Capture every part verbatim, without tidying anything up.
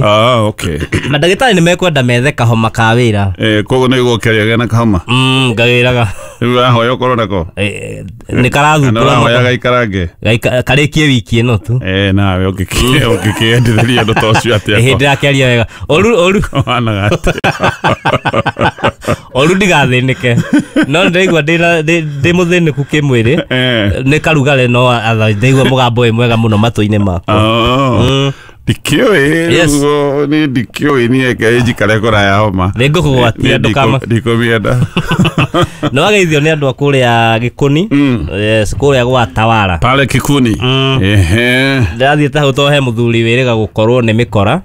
Ah, okay. Mandagĩtarĩ nĩ mekwenda methe kahoma ka wĩra. Eh, koguo nĩ gũkĩaria na kahoma. Mm, ngawĩraga. Rĩu ũrahoya ũkorwo nako? Eh, nĩ karathumbũra. Ũrahoya gaikarange? Karĩkie wiki ĩno tu. Eh, nawe ũngĩkĩendithĩria ũndũ ta ũcio atĩa? Ĩhĩ ndĩrakĩaria wega. Ũru ũru. Ũhanaga atĩa? Ũru ndigathĩnĩke. No ndĩraigua ndĩ mũthĩnĩku kĩmwĩrĩ. Nĩ karugarĩ no ndaigua mũgambo wĩ mwega mũno matũ-inĩ makwa. Oh. Ndikĩũĩ rĩu niĩ ndikĩũĩ niĩ reke njikare kũraya homa. Nĩ ngũkũgwatia ndũkama. Ndikũmĩenda. Nĩ wageithio nĩ andũ a kũrĩa Gĩkũni. Yes, kũrĩa gwa Tawara. Pale Kikuni. Ehe. Ndĩrathiĩte hau tondũ he mũthuri wĩrĩga gũkorwo nĩ mĩkora.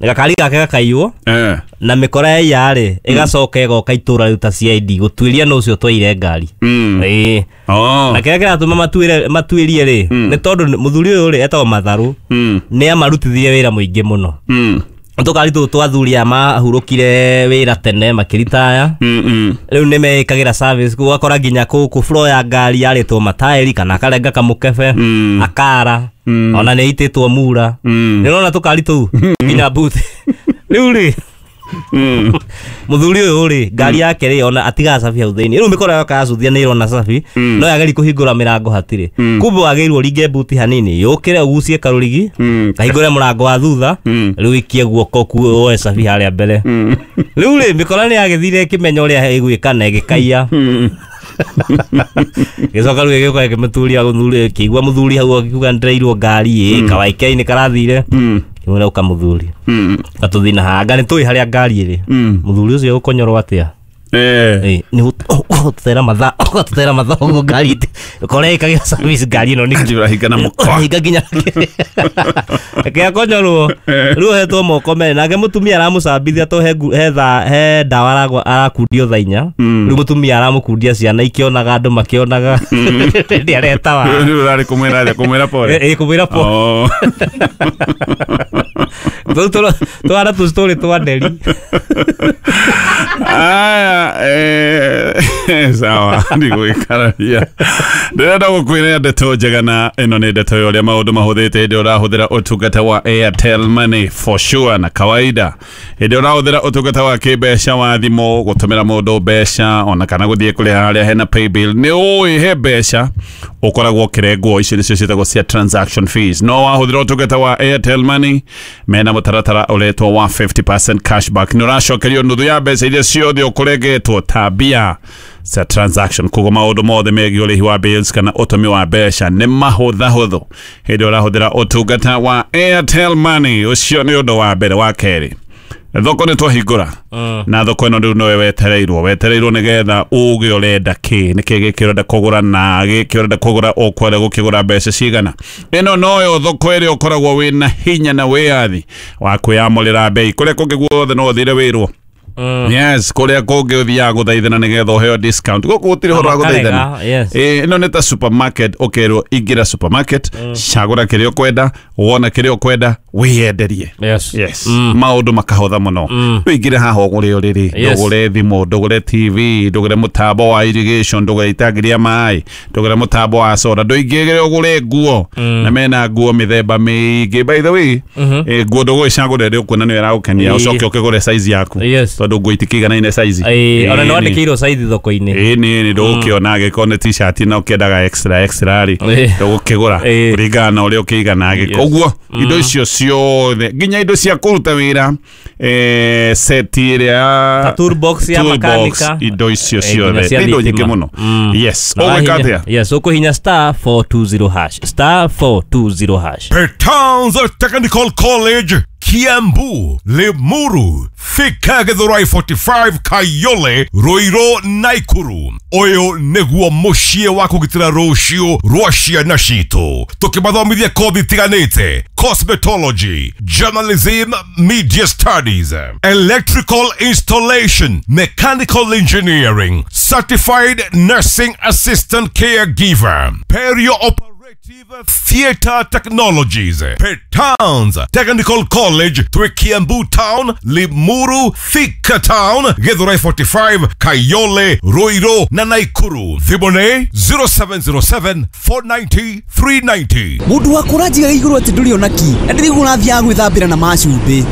Gakari gake gakaiywo. Na mĩkora yaiya rĩ ĩgacoka ĩgoka itũra rĩu ta C I D gũtuĩria nũ ũcio twaire ngari. Ĩĩ. Na kĩrĩa kĩratũma matuĩre matuĩrie rĩ nĩ tondũ mũthuri ũyũ rĩ etagwo Matharũ nĩ amarutithirie wĩra mũingĩ mũno. Tũkari tũtũ twa athuri aya mahurũkire wĩra tene makĩritaya. Rĩu nĩ meĩkagĩra service ũgakora nginya kũkũ floor ya ngari yarĩtwo mataĩri kana akarenga kamũkebe akara ona nĩ ĩitĩtwo mura. Nĩ ũrona tũkari tũu nginya boot. Rĩu rĩ mũthuri ũyũ rĩ ngari yake rĩ ona atigaga cabi hau thĩinĩ. Rĩu mĩkora yoka yacuthia nĩ ĩrona cabi no yageri kũhingũra mĩrango hatirĩ. Kumbe wagĩrĩirwo ũringe buti hanini yũkĩre ũgucie karũrigi kahingũre mũrango wa thutha rĩu ikie guoko woe cabi harĩa mbere. Rĩu rĩ mĩkora nĩ yagĩthire ĩkĩmenya ũrĩa ĩgwĩka na ĩgĩkaiya. Gĩcoka rĩu ĩgĩũka ĩkĩmũturia mũthuri ĩkĩigua mũthuri hau akiuga nĩndĩrairwo ngari ĩ kawaike-inĩ karathire. Kĩmwĩra ũka mũthuri gatũthiĩ na haha anga nĩ tũĩ harĩa ngari ĩrĩ. Mũthuri ũcio ũkonyorwo atĩa? Eh. Nĩ ũgũtũtera mathaa ũgatũtera mathaa ũguo ngari ũkora ĩkagĩra service ngari ĩno nĩ ũrahinga na mũkwa. Ũrahinga nginya reke akonyorwo. Rĩu ohetwo moko merĩ nake mũtumia aramũcambithia to he thaa he ndawa arakundio thaa inya. Rĩu mũtumia aramũkundia ciana ikĩonaga andũ makĩonaga hĩndĩ aretawa. Rĩu ũrarĩ kũmwĩra atĩa? Kũmwĩra pole? Ĩ kũmwĩra pole. Tũu twana tũ story twa Nderi. Aya, eh, sawa, ndigũgĩkararia. Ndĩrenda gũkwĩra ndeto njega na ĩno nĩ ndeto ya ũrĩa maũndũ mahũthĩte hĩndĩ ũrahũthĩra ũtungata wa Airtel Money for sure na kawaida. Hĩndĩ ũrahũthĩra ũtungata wa kĩmbeca wa thimũ gũtũmĩra mũndũ mbeca ona kana gũthiĩ kũrĩha harĩa hena paybill nĩ ũĩ he mbeca ũkoragwo ũkĩrengwo icio nĩcio ciĩtagwo cia transaction fees. No wahũthĩra ũtungata wa Airtel Money mena mũtaratara ũretwo wa fifty percent cashback. Nĩ ũracokerio nuthu ya mbeca iria ciothe ũkũrengetwo ta mbia cia transaction. Koguo maũndũ mothe megiĩ ũrĩhi wa bills kana ũtũmi wa mbeca nĩ mahũthahũthũ hĩndĩ ũrahũthĩra ũtungata wa Airtel Money. Ũcio nĩ ũndũ wa mbere. Wa kerĩ, thoko nĩ twahingũra na thoko ĩno rĩu nowe wetereirwo wetereirwo nĩgetha uge ũrenda kĩ nĩkĩ gĩkĩ ũrenda kũgũra na gĩkĩ ũrenda kũgũra ũkwenda gũkĩgũra mbeca cigana. Ĩno noyo thoko ĩrĩa ũkoragwo wĩna hinya na wĩyathi wa kwĩyamũrĩra bei. Kũrĩa kũngĩ guothe no ũthire wĩrwo. Yes, kũrĩa kũngĩ ũthiaga gũthaithana nĩgetha ũheo discount. Gũkũ gũtirĩ ũhoro wa gũthaithana. Ĩno nĩ ta supermarket ũkerwo ingĩra supermarket cagũra kĩrĩa ũkwenda wona kĩrĩa ũkwenda wĩyenderie. Yes. Yes. Maũndũ makahũtha mũno. Ũingĩre haha ũgũre ũrĩrĩ, ndũgũre thimũ, ndũgũre T V, ndũgũre mũtambo wa irrigation, ndũgũre itangi rĩa maĩ, ndũgũre mũtambo wa soda, ndũingĩre ũgũre nguo. Na mena nguo mĩthemba mĩingĩ. By the way, nguo ndũgũgĩcagũra ĩrĩa ũkuona nĩyo ĩragũkenia ũcoke ũkĩgũre size yaku. Tondũ nguo itikĩiganaine size. Ĩĩ, ona nĩ wandĩkĩirwo size thoko-inĩ. Ĩĩ nĩ ndũgũkĩona angĩkorwo nĩ t-shirt na ũkĩendaga extra extra rĩ ndũgũkĩgũra kũringana na ũrĩa ũkĩigana angĩkorwo. Ũguo indo icio ciothe nginya indo cia kũruta wĩra eh set ĩrĩa ta toolbox ya makanika indo icio ciothe nĩ indo nyingĩ mũno. Yes, ũgwĩka atĩa? Yes, ũkũhinya star four two zero hash star four two zero hash. Petans Technical College Kiambu, Limuru, Thika Githurai forty-five, Kayole, Ruiru, Naikuru. Ũyũ nĩguo mũciĩ wa kũgitĩra rũciũ rwa ciana citũ. Tũkĩmathomithia kothi itiganĩte: cosmetology, journalism, media studies, electrical installation, mechanical engineering, certified nursing assistant caregiver, perio operative Theatre Technologies, Petans Technical College, twĩ Kiambu Town, Limuru, Thika Town, Githurai forty-five, Kayole, Ruiru na Naikuru. Thimũ nĩ zero seven zero seven four ninety three ninety. Mundu wa kũranjigaga igũrũ atĩ ndũrĩ ona ki na ndĩrĩguo ũrathiaga gwĩthambĩra na macumbĩ.